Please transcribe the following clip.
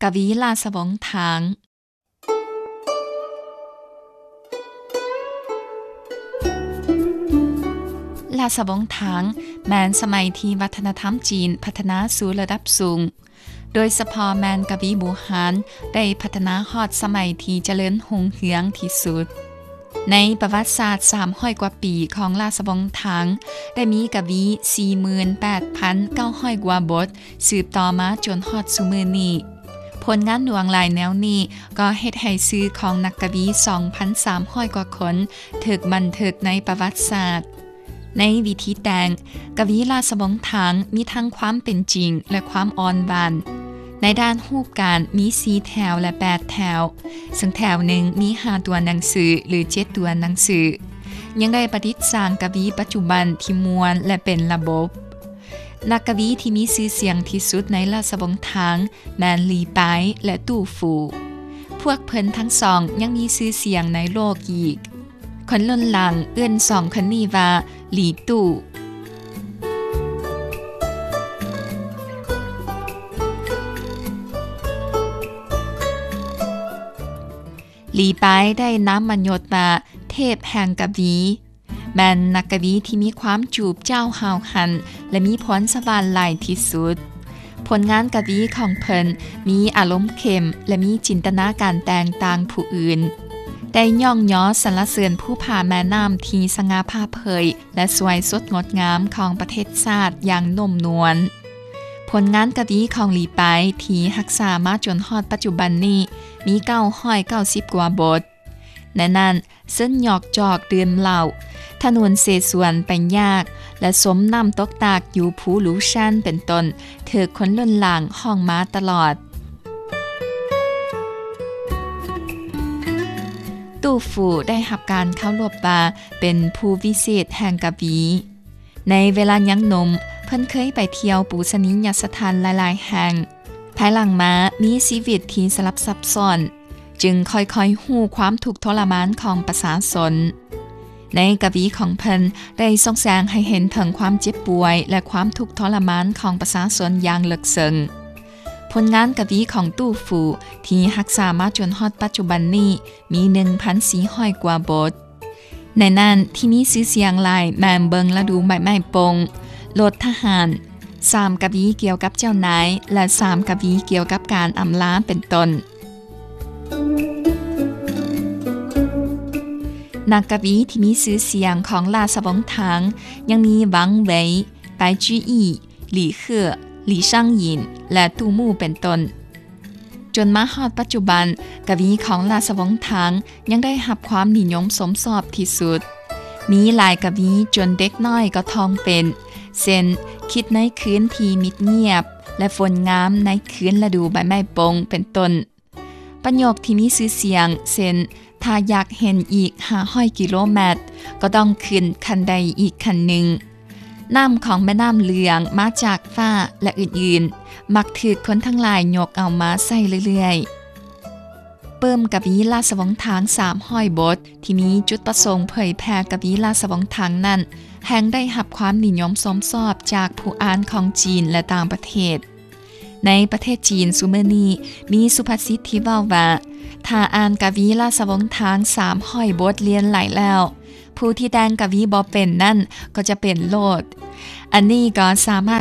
ກະວີລາຊະວົງທາງ. ລາຊະວົງທາງແມ່ນສະໄໝທີ່ວັດທະນະທຳຈີນພັດທະນາສູ່ລະດັບສູງ, ໂດຍສະເພາະແມ່ນກະວີບູຮານໄດ້ພັດທະນາຮອດສະໄໝທີ່ຈະເລີນຮຸ່ງເຮືອງທີ່ສຸດ. ໃນປະຫວັດສາດສາມຮ້ອຍກວ່າປີຂອງລາຊະວົງທາງ ໄດ້ມີກະວີສີ່ໝື່ນແປດພັນເກົ້າຮ້ອຍກວ່າບົດ ສືບຕໍ່ມາຈົນຮອດຊຸມື້ນີ້. ຜົນງານຫຼວງຫຼາຍແນວນີ້ກໍເຮັດໃຫ້ຊື່ຂອງນັກກະວີສອງພັນສາມຮ້ອຍກວ່າຄົນຖືກບັນທຶກໃນປະຫວັດສາດ. ໃນວິທີແຕ່ງ, ກະວີລາຊະວົງທາງມີທັງຄວາມເປັນຈິງ ແລະ ຄວາມອ່ອນຫວານ. ໃນດ້ານຮູບການມີສີ່ແຖວ ແລະ ແປດແຖວ, ເຊິ່ງແຖວໜຶ່ງມີຫ້າຕົວໜັງສື ຫຼື ເຈັດຕົວໜັງສື. ຍັງໄດ້ປະດິດສ້າງກະວີປັດຈຸບັນທີ່ມ່ວນ ແລະ ເປັນລະບົບ. ນັກກະວີທີ່ມີຊື່ສຽງທີ່ສຸດໃນລາຊະວົງທາງແມ່ນຫຼີປາຍ ແລະ ຕູ້ຟູ. ພວກເພິ່ນທັງສອງຍັງມີຊື່ສຽງໃນໂລກອີກ. ຄົນລຸ້ນຫຼັງເອີ້ນສອງຄົນນີ້ວ່າຫຼີຕູ້. ຫຼີປາຍໄດ້ນາມມະຍົດວ່າເທບແຫ່ງກະວີ, ແມ່ນນັກກະວີທີ່ມີຄວາມຈູບຈ້າວຫ້າວຫັນ ແລະ ມີພອນສະຫວ່ານຫຼາຍທີ່ສຸດ. ຜົນງານກະວີຂອງເພິ່ນມີອາລົມເຂັ້ມ ແລະ ມີຈິນຕະນາການແຕ່ງຕ່າງຜູ້ອື່ນ, ໄດ້ຍ້ອງຍໍສັນລະເສີນພູຜາແມ່ນ້ຳທີ່ສະຫງ່າຜ່າເຜີຍ ແລະ ສວຍສົດງົດງາມຂອງປະເທດຊາດຢ່າງນຸ້ມນວນ. ຜົນງານກະວີຂອງຫຼີປາຍທີ່ຮັກສາມາຈົນຮອດປັດຈຸບັນນີ້ມີເກົ້າຮ້ອຍເກົ້າສິບກວ່າບົດ. ໃນນັ້ນ, ເຊິ່ງຫຍອກຈອກດື່ມເຫຼົ້າ, ຖະໜົນເສສວນໄປຍາກ ແລະ ສົມນ້ຳຕົກຕາກຢູ່ພູຫຼູຊັນ ເປັນຕົ້ນ, ຖືກຄົນລຸ້ນຫຼັງຮ້ອງມາຕະຫຼອດ. ຕູ້ຟູໄດ້ຮັບການເຄົາລົບວ່າເປັນຜູ້ວິເສດແຫ່ງກະວີ. ໃນເວລາຍັງໜຸ່ມ, ເພິ່ນເຄີຍໄປທ່ຽວປູຊະນີຍະສະຖານຫຼາຍໆແຫ່ງ. ພາຍຫຼັງມາມີຊີວິດທີ່ສະຫຼັບສັບຊ້ອນ, ຈຶ່ງຄ່ອຍໆຮູ້ຄວາມທຸກທໍລະມານຂອງປະຊາຊົນ. ໃນກະວີຂອງເພິ່ນໄດ້ສົ່ງແສງໃຫ້ເຫັນເຖິງຄວາມເຈັບປ່ວຍ ແລະ ຄວາມທຸກທໍລະມານຂອງປະຊາຊົນຢ່າງເລິກເຊິ່ງ. ຜົນງານກະວີຂອງຕູ້ຟູທີ່ຮັກສາມາຈົນຮອດປັດຈຸບັນນີ້ມີໜຶ່ງພັນສີ່ຮ້ອຍກວ່າບົດ. ໃນນັ້ນທີ່ມີຊື່ສຽງຫຼາຍແມ່ນເບິ່ງລະດູໃບໄມ້ປົ່ງ, ລົດທະຫານ, ສາມກະວີກ່ຽວກັບເຈົ້ານາຍ ແລະ ສາມກະວີກ່ຽວກັບການອຳລາ ເປັນຕົ້ນ. ນັກກະວີທີ່ມີຊື່ສຽງຂອງລາຊະວົງທາງຍັງມີ ວັງເຫວີຍ, ປາຍຈີອີ, ຫຼີເຂື້ອ, ຫຼີຊາງຫຍິນ ແລະ ຕູ້ມູ້ ເປັນຕົ້ນ. ຈົນມາຮອດປັດຈຸບັນ, ກະວີຂອງລາຊະວົງທາງຍັງໄດ້ຮັບຄວາມນິຍົມຊົມຊອບທີ່ສຸດ. ມີຫຼາຍກະວີຈົນເດັກນ້ອຍກໍທ່ອງເປັນ, ເຊັ່ນ, ຄິດໃນຄືນທີ່ມິດງຽບ ແລະ ຝົນງາມໃນຄືນລະດູໃບໄມ້ປົ່ງ ເປັນຕົ້ນ. ປະໂຫຍກທີ່ມີຊື່ສຽງ ເຊັ່ນ, ຖ້າຢາກເຫັນອີກຫ້າຮ້ອຍກິໂລແມັດ ກໍຕ້ອງຂຶ້ນຂັ້ນໄດອີກຂັ້ນໜຶ່ງ. ນ້ຳຂອງແມ່ນ້ຳເຫຼືອງມາຈາກຟ້າ ແລະ ອື່ນໆ ມັກຖືກຄົນທັງຫຼາຍຍົກເອົາມາໃຊ້ເລື້ອຍໆ. ປຶ້ມກະວີລາຊະວົງທາງສາມຮ້ອຍບົດ ທີ່ມີຈຸດປະສົງເຜີຍແຜ່ກະວີລາຊະວົງທາງນັ້ນ ແຮ່ງໄດ້ຮັບຄວາມນິຍົມຊົມຊອບຈາກຜູ້ອ່ານຂອງຈີນ ແລະ ຕ່າງປະເທດ. ໃນປະເທດຈີນຊຸມື້ນີ້ ມີສຸພາສິດທີ່ເວົ້າວ່າ ຖ້າອ່ານກະວີລາຊະວົງທາງສາມຮ້ອຍບົດລຽນໄຫຼແລ້ວ, ຜູ້ທີ່ແຕ່ງກະວີບໍ່ເປັນນັ້ນກໍຈະເປັນໂລດ. ອັນນີ້ກໍສາມາດ